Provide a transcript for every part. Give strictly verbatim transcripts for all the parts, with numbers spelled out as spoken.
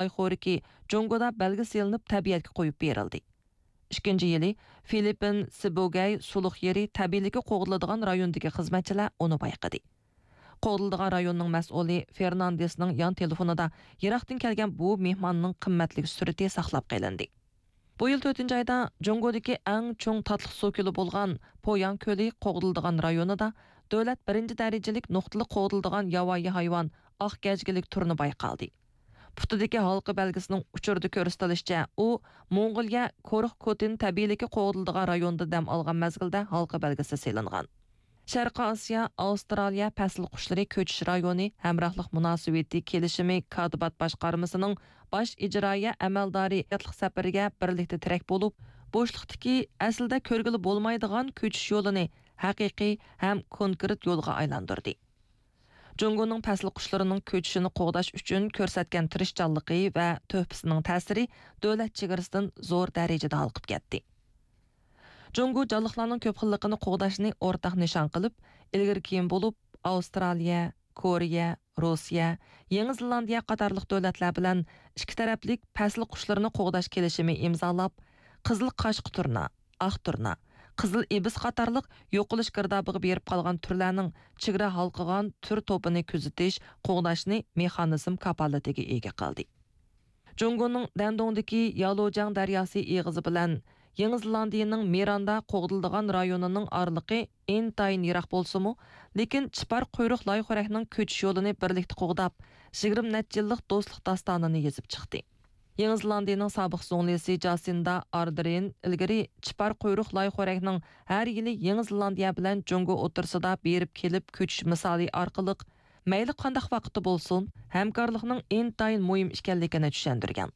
لاي خورىكى جۇڭگودا بەلگە سېلىنىپ تەبىئەتكە قويۇپ بېرىلدى. ئىككىنچى يىلى فىلىپپىن سىبوگەي سۇلۇق يېرى تەبىئىيلىكى قوغدىلىدىغان رايوندىكى خىزمەتچىلەر ئۇنى بايقىدى. قوغدىلىدىغان رايوننىڭ مەسئۇلى فېرناندېسنىڭ يان تېلېفونىدا يىراقتىن كەلگەن بۇ مېھماننىڭ قىممەتلىك سۈرىتى ساقلاپ قېلىندى. بۇ يىل تۆتىنچى ئايدا جۇڭگودىكى ئەڭ چوڭ تاتلىق سۇ كۆلى بولغان پوياڭ كۆلى قوغدىلىدىغان رايونىدا دۆلەت بىرىنچى دەرىجىلىك نۇقتىلىق قوغدىلىدىغان ياۋايى ھايۋان ئاق گەجگىلىك تۇرنا بايقالدى. پۇتىدىكى ھالقا بەلگىسىنىڭ ئۇچۇردا كۆرسىتىلىشىچە، ئۇ موڭغۇلىيە كورخ كوتىن تەبىئىيلىكى قوغدىلىدىغان رايونىدا دەم ئالغان مەزگىلدە ھالقا بەلگىسى سېلىنغان. شەرقىي ئاسىيا، ئاۋسترالىيە پەسىل قۇشلىرى كۆچۈش رايونى ھەمراھلىق مۇناسىۋىتى كېلىشىمى كاتىبات باشقارمىسىنىڭ باش ئىجرائىيە ئەمەلدارى ھاياتلىق سەپىرىگە بىرلىكتە تىرەك بولۇپ، بوشلۇقتىكى ئەسلىدە كۆرگىلى بولمايدىغان كۆچۈش يولىنى ھەقىقىي ھەم كونكرېت يولغا ئايلاندۇردى. جۇڭگونىڭ پەسىل قۇشلىرىنىڭ كۆچۈشىنى قوغداش ئۈچۈن كۆرسەتكەن تىرىشچانلىقى ۋە تۆھپىسىنىڭ تەسىرى دۆلەت چېگرىسىدىن زور دەرىجىدە ھالقىپ كەتتى. جۇڭگو جانلىقلارنىڭ كۆپ خىللىقىنى قوغداشنى ئورتاق نىشان قىلىپ، ئىلگىرى كېيىن بولۇپ ئاۋسترالىيە، كورېيە، روسىيە، يېڭى زېلاندىيە قاتارلىق دۆلەتلەر بىلەن ئىككى تەرەپلىك پەسىل قۇشلىرىنى قوغداش كېلىشىمى ئىمزالاپ، قىزىل قاشقا تۇرنا، ئاق تۇرنا، قىزىل ئىبىس قاتارلىق يوقىلىش گىردابىغا بېرىپ قالغان تۈرلەرنىڭ چېگرا ھالقىغان تۈر توپىنى كۆزىتىش، قوغداشنى مېخانىزم كاپالىتىگە ئىگە قىلدى. جۇڭگونىڭ دەندۇڭدىكى يالۇجياڭ دەرياسى ئېغىزى بىلەن يېڭى زېلاندىيىنىڭ مىراندا قوغدىلىدىغان رايونىنىڭ ئارىلىقى ئىنتايىن يىراق بولسىمۇ، لېكىن چىپار قۇيرۇق لايخورەكنىڭ كۆچۈش يولىنى بىرلىكتە قوغداپ، يىگىرمە نەچچە يىللىق دوستلۇق داستانىنى يېزىپ چىقتى. يېڭى زېلاندىيىنىڭ سابىق زۇڭلىسى جاسىندا ئاردېرېن ئىلگىرى چىپار قۇيرۇق لايخورەكنىڭ ھەر يىلى يېڭى زېلاندىيە بىلەن جۇڭگو ئوتتۇرىسىدا بېرىپ كېلىپ كۆچۈش مىسالى ئارقىلىق، مەيلى قانداق ۋاقىتتا بولسۇن، ھەمكارلىقنىڭ ئىنتايىن مۇھىم ئىكەنلىكىنى چۈشەندۈرگەن.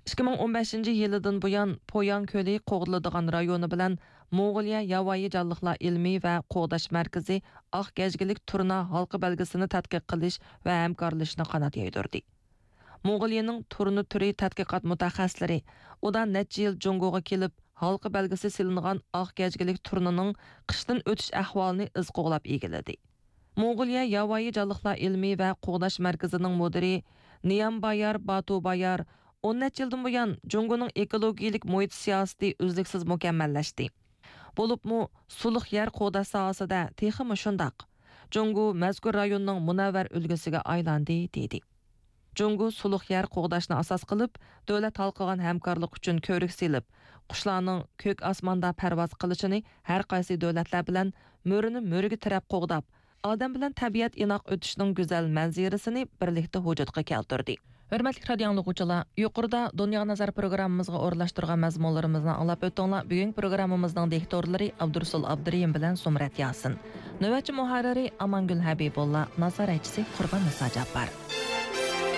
ئىككى مىڭ ئون بەشىنچى يىلىدىن بۇيان، پوياڭ كۆلى قوغدىلىدىغان رايونى بىلەن موڭغۇلىيە ياۋايى جانلىقلار ئىلمىي ۋە قوغداش مەركىزى ئاق گەجگىلىك تۇرنا ھالقا بەلگىسىنى تەتقىق قىلىش ۋە ھەمكارلىشىشنى قانات يايدۇردى. موڭغۇلىيىنىڭ تۇرنا تۈرى تەتقىقات مۇتەخەسسىسلىرى ئۇدا نەچچە يىل جۇڭگوغا كېلىپ، ھالقا بەلگىسى سېلىنغان ئاق گەجگىلىك تۇرنىنىڭ قىشتىن ئۆتۈش ئەھۋالىنى ئىز قوغلاپ ئىگىلىدى. موڭغۇلىيە ياۋايى جانلىقلار ئىلمىي ۋە قوغداش مەركىزىنىڭ مۇدىرى نىيامبايار باتۇبايار ئون نەچچە يىلدىن بۇيان جۇڭگونىڭ ئېكولوگىيەلىك مۇھىت سىياسىتى ئۈزلۈكسىز مۇكەممەللەشتى. بولۇپمۇ سۇلۇق يەر قوغداش ساھەسىدە تېخىمۇ شۇنداق. جۇڭگو مەزكۇر رايوننىڭ مۇنەۋۋەر ئۈلگىسىگە ئايلاندى، دېدى. جۇڭگو سۇلۇق يەر قوغداشنى ئاساس قىلىپ، دۆلەت ھالقىغان ھەمكارلىق ئۈچۈن كۆۋرۈك سېلىپ، قۇشلارنىڭ كۆك ئاسماندا پەرۋاز قىلىشىنى ھەر قايسى دۆلەتلەر بىلەن مۈرىنى مۈرىگە تىرەپ قوغداپ، ئادەم بىلەن تەبىئەت ئىناق ئۆتۈشنىڭ گۈزەل مەنزىرىسىنى بىرلىكتە ۋۇجۇدقا كەلتۈردى. ھۆرمەتلىك رادىئو ئاڭلىغۇچىلار، يۇقىرىدا دۇنياغا نەزەر پروگراممىمىزغا ئورۇنلاشتۇرغان مەزمۇنلىرىمىزنى ئاڭلاپ ئۆتتۈڭلار. بۈگۈنكى پروگراممىمىزنىڭ دىكتورلىرى ئابدۇرۇسۇل ئابدۇرېھىم بىلەن زۇمرەت ياسىن. نۆۋەتچى مۇھەررىرى ئامانگۈل ھەبىبۇللا، نازارەتچىسى قۇربان نىسا جاپپار.